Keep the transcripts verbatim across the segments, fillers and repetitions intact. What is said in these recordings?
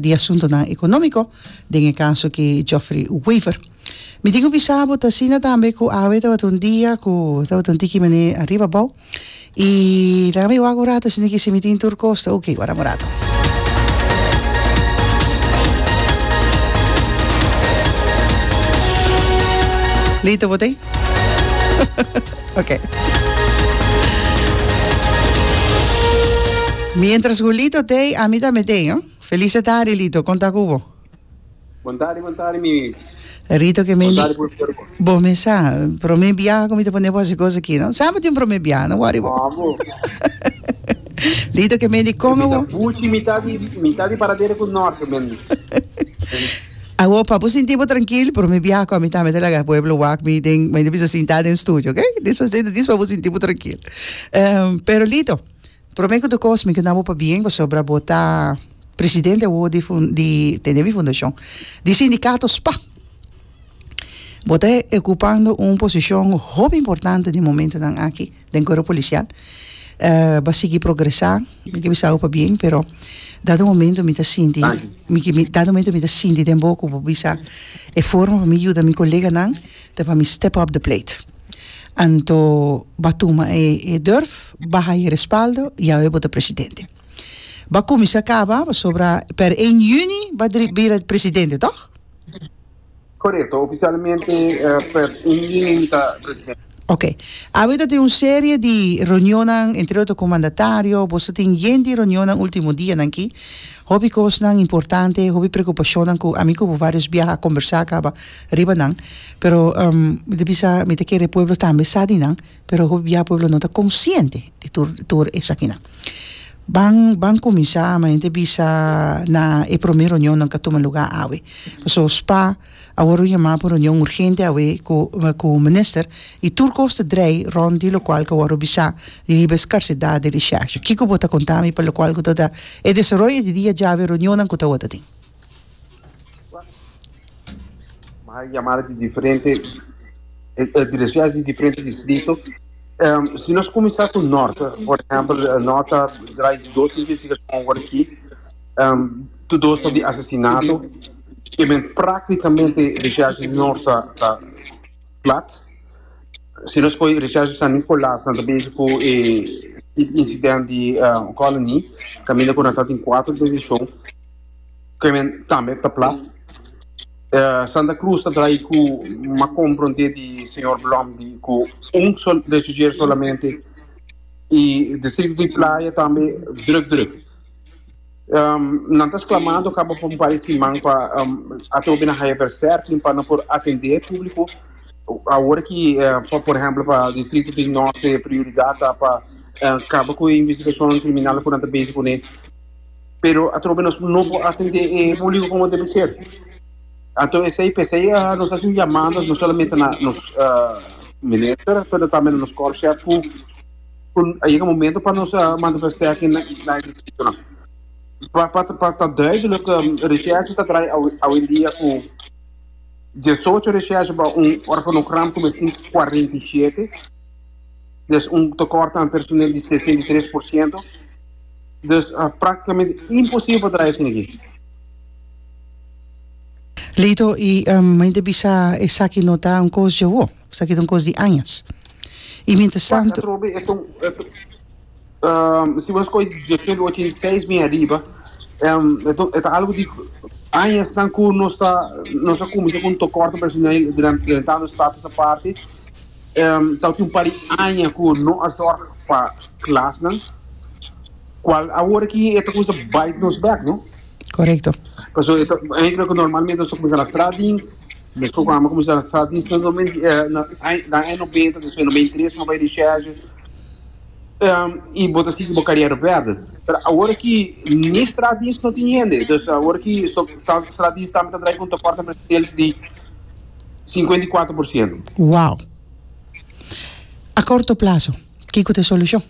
Di Asuntonan Economico, den e caso ki Geoffrey Wever. Mi tin cu bisa bo ta asina tambe cu awe tabata un dia cu tabata un tiki mane ariba abou y laga mi wak un rato asina ki si mi tin tur cos ta ok. Wara un rato. Lito bo ta ey? Ok. Mientras cu Lito t'ey, ami tambe t'ey, no? Feliz tardi, Lito. Con ta cu bo? Bon tardi, bon tardi, Mimi. Rito ke Bon men tardi, pueblo. Bo mes sa, prome biaha cu mi ta pone bo haci cos aki, no? Semper tin un prome biaha, no worry bo. Amo. Lito ke men di con Mi ta awo. buchi mitad di, mitad di Paradera cu Norte, men. Awo pa bo sinti bo trankil, prome biaha cu ami tambe ta laga pueblo wak mi den, mi ta bisa sinta den studio, ok? Dis asina, dis pa bo sinti bo trankil. Pero Lito, prome cu tur cos mi ke na bo pabien pasobra bo ta presidente awo di fun, di, tende mi fundacion, di sindicato spa. Bo ta ocupando un posicion hopi importante den momentonan aki den cuerpo policial. Bo a sigui progresa, mi ke bisa bo pabien, pero dado momento mi ta sinti, mi ke, dado momento mi ta sinti den bo cu bo bisa e forma pa mi yuda mi coleganan ta pa mi step up the plate. Anto bo a tuma e e durf, bo a haya respaldo y awe bo ta presidente. Bo a cuminsa caba pasobra per een juni bo a bira presidente, toch? Korekto, ofisialmente per un juni mi ta presidente. Ok. Awe ta tin un serie di reunionnan, entre otro ku mandatario. Boso tin yen di reunionnan ultimo dianan aki. Hopi kosnan importante, hopi preokupashonnan ku ami ku bo varios biaha a kombersá kaba riba nan. Pero mi ta bisa, mi ta kere e pueblo tambe sa di nan, pero hopi biaha pueblo no ta konsiente di tur tur esakinan. Ban ban kuminsá, ma hende bisa na e promé reunionnan ku a tuma lugá awe. Pasobra spa a wòrdu yamá pa un reunion urgente awe ku ku minister i tur kos ta drei rònt di lokual ku a wòrdu bisá riba e skarsedat di reshèrshe. Kiko bo ta konta mi pa lokual ku ta ta e desaroyo di dia djawe reunionnan ku tawata tin? M'a yamada di diferente di reshèrshe di diferente distrito. Si nos kuminsá ku Nòrt, por ehèmpel, Nòrt ta drai dos investigashon awor aki, tur dos ta di asesinato. E men práktikamente reshèrshe di Nòrt ta ta plat. Si nos kohe reshèrshe di San Nikolas, nan ta bezig ku e insidènt di Colony, kaminda ku nan ta tin kuater detenshon, ku e men tambe ta plat. Santa Cruz ta drai cu m'a compronde di señor Blom di cu un sol rechercheur solamente y distrito di Playa tambe druk druk. Nan ta sclamando caba pa un par di siman pa atrobe nan haya versterking pa nan por atende e publico. Awor ki pa por ehemplo pa distrito di Norte prioridad ta pa caba cu e investigacion criminal cu nan ta bezig cune. Pero atrobe nos no por atende e publico como debe ser. Anto esey p'esey nos haci un yamada no solamente na nos minister pero tambe na nos korpschef cu cu a yega momento pa nos manda versterking na e distritonan. Pa pa pa ta duidelijk recherche ta draai awendia cu diesocho recherche pa un organogram cu mester tin cuarenta y siete, dus un tekort aan personeel di sesenta y tres por ciento. Dus práktikamente imposibel pa traha esaki aki. Lito, i mi ta bisa esaki no ta un kos dje awo, esaki ta un kos di añas. I mientras Wak, tanto. atrobe e ta un, e ta, si bo skohe diesnuebe ochenta i seis bin ariba, e ta, e ta algu di añasnan ku nos ta, nos a kuminsá ku un tekort personeel drentando status aparte, ta tin un par di aña ku no a zòrg pa klasnan, kual awor aki e ta kuminsá bite nos bèk, no? Korekto. Pasobra e ta eigenlijk ku normalmente nos ta kuminsá na straatdienst, meskos ku amo kuminsá na straatdienst na na aña nobenta, despues nobenta i tres mi a bai recherche, i bo ta sigui bo kariera verder. Pero awor aki ni straatdienst no tin hende, dus awor aki straatdienst tambe ta drai ku un tekort personeel di Sinkuenta i kuater por siento. Wow! A korto plaso, kiko ta e solushon?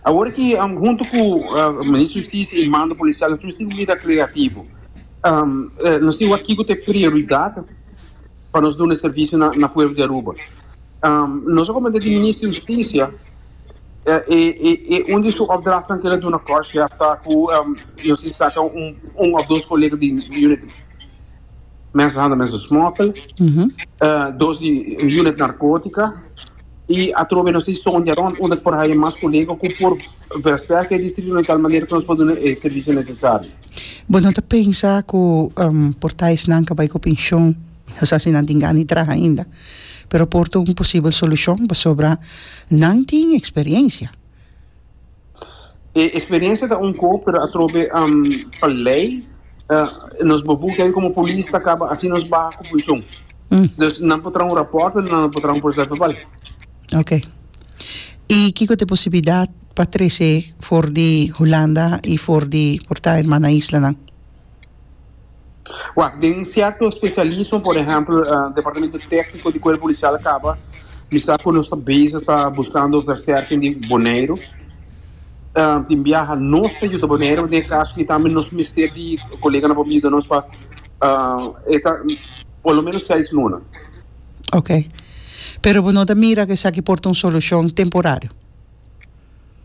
Awor ki huntu ku Minister di Hustisia i mando polisial nos mester bira kreativo. Nos tin wak kiko ta e prioridat pa nos duna e servisio na pueblo di Aruba. Nos a komenta di Minister di Hustisia E, e, e un di su opdrachten ku el a duna korpschef ta ku um, nos saka un, un òf dos kolega di unit mensenhandel, mensen smokkel, Uhum. uh, dos di unit narkótika i atrobe nos ta sondia rònt unda por haya mas kolega ku por versterken e distrito di tal manera ku nos por duna e servisio nesesario. Bo no ta pensa ku um, por ta esnan ku a bai ku penshon, no sa si nan tin gana di traha ainda, pero por ta un posibel solushon pasobra nan tin eksperensia. E eksperensia ta un kos, pero atrobe um, pa lei, uh, nos bevoegdheid komo polis ta kaba asina nos baha ku penshon. Mm. Dus nan por traha un rapòrt, pero nan por traha un proces-verbaal. Ok. I kiko ta e posibilidat pa trese for di Hulanda i for di por ta hermana islanan? Wak, den sierto spesialismo, por ehèmpel, uh, departamento tékniko di kuerpo polisial kaba, mi sa ku nos ta bezig ta buskando versterking di Boneiru. Uh, tin biaha nos ta yuda Boneiru, den kaso ku tambe nos mester di koleganan pa yuda nos pa uh, e ta por lo menos seis luna. Ok. Pero bo no ta mira ku esaki por ta un solushon temporario?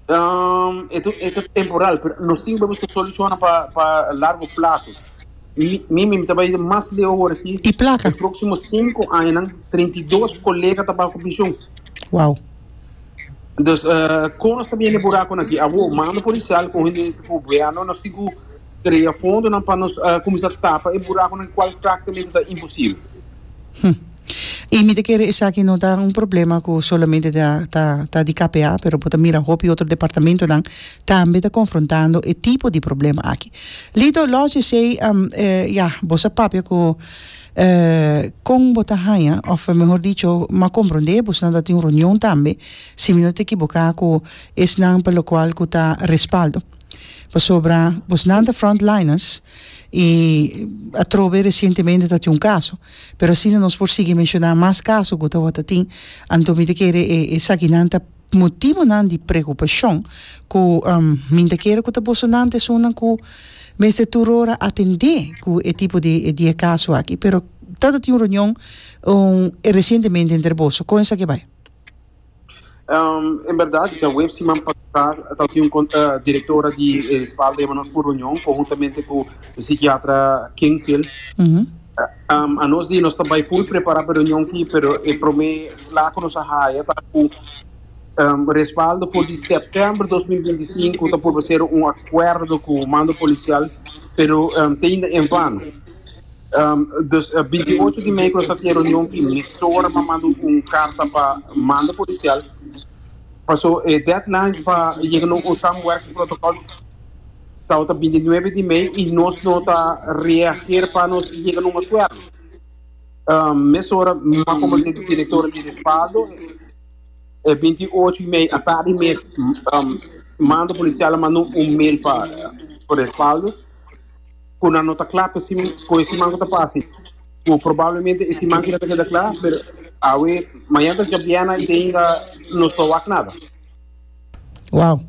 Um, e ta temporal, pero nos tin ku buska solushon pa pa largo plaso. Mi mi mi tambe mas leu awor aki. I plaka? E próksimo sinku aña, trinta i dos kolega ta pa penshon. Wow. Dus uh, kon nos tambe buraku aki, awor mando polisial ku hende gobièrnu, nos tin ku krea fondonan pa nos uh, kuminsá tapa e burakunan kual práktikamente ta imposibel. Hm. I mi ta kere esaki no ta un problema ku solamente ta ta ta di K P A, pero por mira hopi otro departamentonan tambe ta konfrontando e tipo di problema aki. Lito, los esei um, eh, ja, bo a papia ku eh, kon bo ta haña, òf mihó dicho, m'a komprondé, bo tin un reunion tambe, si mi no ta ekivoká, ku esnan pa lokual ku ta Respaldo. Pasobra, boso ta frontliners i atrobe resientemente tabatin un kaso, pero asina nos por sigui menshoná mas kaso ku tabata tin, anto mi ta kere e esakinan ta motivonan di preokupashon ku um, mi ta kere ku ta bosonan esunnan ku mester tur ora atendé ku e tipo di di kaso aki, pero tabatin un reunion um, resientemente entre boso, kon esaki a bai? Um, en berdat, djaweps siman pasá, tabatin un uh, direktora di Respaldo a nos un reunion, konhuntamente ku e sikiatra Kingshill. Uhum. Um, anos di nos tambe full prepará pa e reunion aki, pero e promé sla ku nos a haya ta ku um, Respaldo for di sèptèmber dos mil binti sinku ta por ser un akuerdo ku mando polisial, pero um, te ainda en vano. Um, dus uh, binti ocho di mei ku nos tabatin e reunion aki, mesora m'a manda un karta pa mando polisial. Pasó e deadline pa yega na un samenwerkingsprotocol ta binti nuebe di mei i nos no ta reageer pa nos yega na un akuerdo. Um, mesora m'a komuniká ku direktor di Respaldo, e binti ocho di mei atardi mes um, mando polisial a manda un mail pa pa Respaldo ku nan no ta kla pa ku e siman ku ta pasa. Ku probablemente e siman aki ta keda kla, pero awe mañan ta djabièrnè i ainda no ta wak nada. Wow.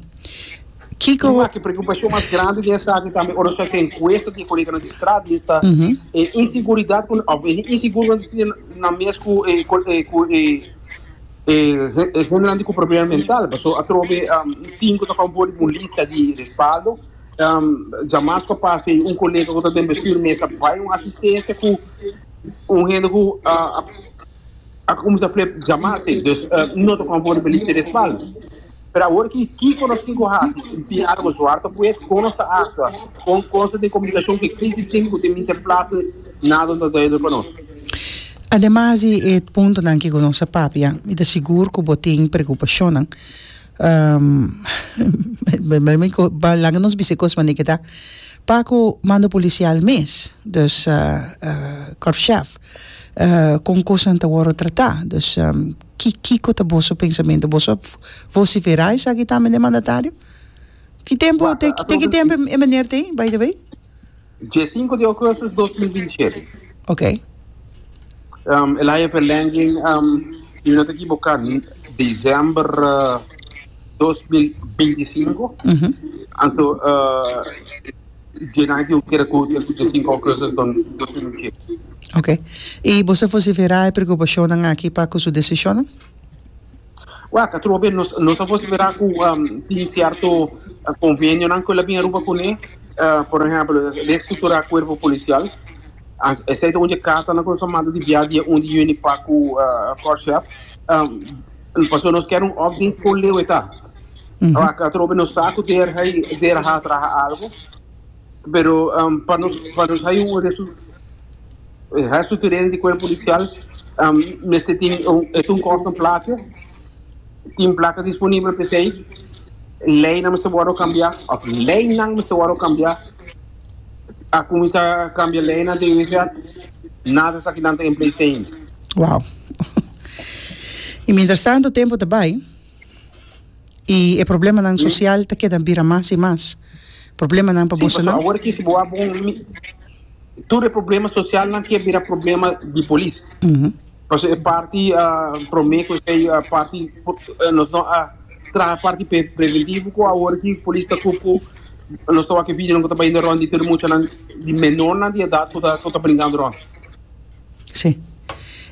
Kiko. E preokupashon mas grandi di esaki tambe, ora nos hasi enkuesta di kolega di strada, ta Uhum. e inseguridat ku òf e inseguridat na mes ku e ku e ku e e hendenan ku problema mental, paso atrobe um, tin ku ta konforme ku lista di Respaldo, um, djamars ku a pasa un kolega ku ta den bestuur mes a bai un asistensia ku un hende ku uh, a kuminsá flip djamars, dus uh, no ta konforme ku lista di Respaldo. Pero awor ku kiko nos tin ku hasi, tin algu zwart op wit, kon nos ta aktua, kon kon di komunikashon ku crisis team ku tin ter plaatse, nada no ta duidelijk pa nos. Ademas, e puntonan ku nos a papia, mi ta sigur ku bo tin preokupashon. Um, laga nos bisa kos manera ku ta. Pa ku mando polisial mes, dus uh, uh, korpschef, uh, kon kosnan ta wòrdu tratá. Dus um, ki kiko ta boso pensamentu? Boso a vosiferá esaki tambe na mandatario? Ki tempu, te, te ki tempu e meneer tin, by the way? Dia sinku di ougùstùs dos mil binti shete. Ok. Um, el a haya verlenging, um, si no ta ekivoká, desèmber uh, dos mil binti sinku. Uhum. Anto, uh, dia ku kere ku dia sinku di ougùstùs dos mil binti shete. Ok. I boso a vosiferá e preokupashon aki pa ku su desishon? Wak, atrobe nos nos a vocifera cu um, tin cierto convenionan cu el a bin Aruba cune, uh, por ehempel, reestructura cuerpo policial. Esey ta un di e cartanan cu nos a manda di bia dia un di juni pa cu uh, Korpschef. Um, pasobra nos kier un update con leu e ta. Wak, atrobe nos sa cu der hij der ha traha algo, pero um, pa nos pa nos hay un resu herstructurering di cuerpo policial, um, mester tin un, e ta un costo un plaatje, tin placa disponibel p'esey, leynan mester wordo cambia, of leynan mester wordo cambia. A cuminsa cambia leynan den W Z, nada esakinan ta in place te ainda. Wow. Y mientras tanto tempo ta bay y e problemanan social ta keda bira mas y mas. Problemanan pa Sí, boso pasobra nan. Awor aki si bo a bon mi- tur e problema socialnan kier bira problema di polis. Mhm. Pasobra e parti uh, prome cu esey uh, parti uh, nos no a traha parti pre preventivo cu awor aki polis ta cu cu nos ta wak e videonan cu ta bayendo rond di tur muchanan di menornan di edad cu ta cu ta brincando rond. Sí.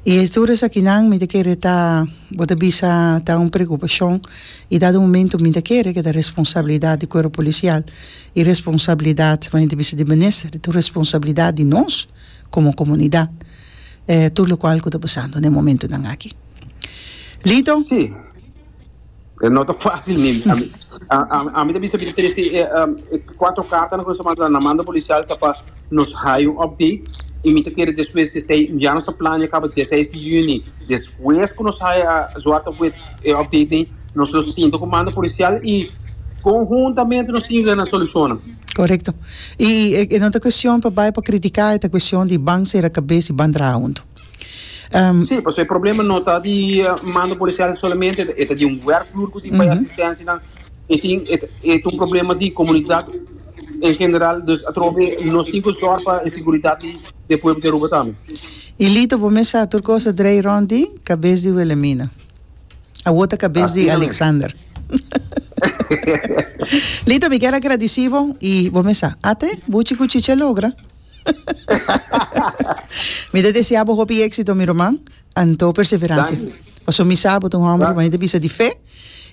Y e tur esakinan mi ta kere ta, bo ta bisa, ta un preocupacion y dado momento mi ta kere cu ta responsabilidad di cuerpo policial y responsabilidad, mi ta bisa, di minister, ta responsabilidad di nos como comunidad. Eh, tur locual cu ta pasando na e momentonan aki. Lito? Sí. Eh, No ta facil mi. Ami a ami ta bisa mi ta trece eh, um, cuatro cartanan cu nos a manda na mando policial ta pa nos haya un update y mi ta kere despues di esey ya nos ta plania caba diesseis di juni, despues cu nos haya zwart op wit e update ni nos lo sinta cu mando policial y conhuntamente nos tin na solucion. Correcto. Y e, e no ta cuestion pa bay pa critica, ta cuestion di ban cera cabes y ban traha hunto. Um, Sí, pasobra e problema no ta di uh, mando policial solamente, e ta di un werkvloer cu tin pa asistencia nan, y tin e e ta un problema di comunidad en general, dus atrobe nos tin cu zorg pa e seguridad di di pueblo di Aruba tambe. Y Lito, bo mes sa tur cos ta drei rond di cabes di Wilhelmina. Awor ta cabes di Asina mes. Alexander. Lito, mi kier a gradici bo y bo mes sa. Ate, buchi cu chicha logra. Mi ta desea bo hopi exito, mi ruman, anto perseverancia. Danki. Paso mi sa bo ta un homber, Danki. ma ta bisa di fe.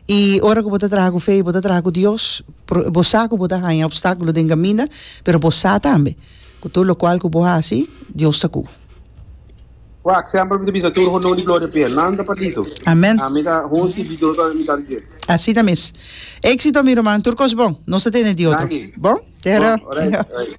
Y ora cu bo ta traha cu fe, bo ta traha cu Dios, pro- bo sa cu bo ta haya obstaculo den camino, pero bo sa tambe cu tur locual cu bo haci, Dios ta cu bo. Wak, semper mi ta bisa tur honor y gloria p'e. Landa pa Lito. Amen. Ami ta un sirbidor pa mi ta dje. Asina mes. Exito, mi ruman, tur cos bon. Nos ta tende di otro. Danki. Bon? Tera. Bon, alright, alright.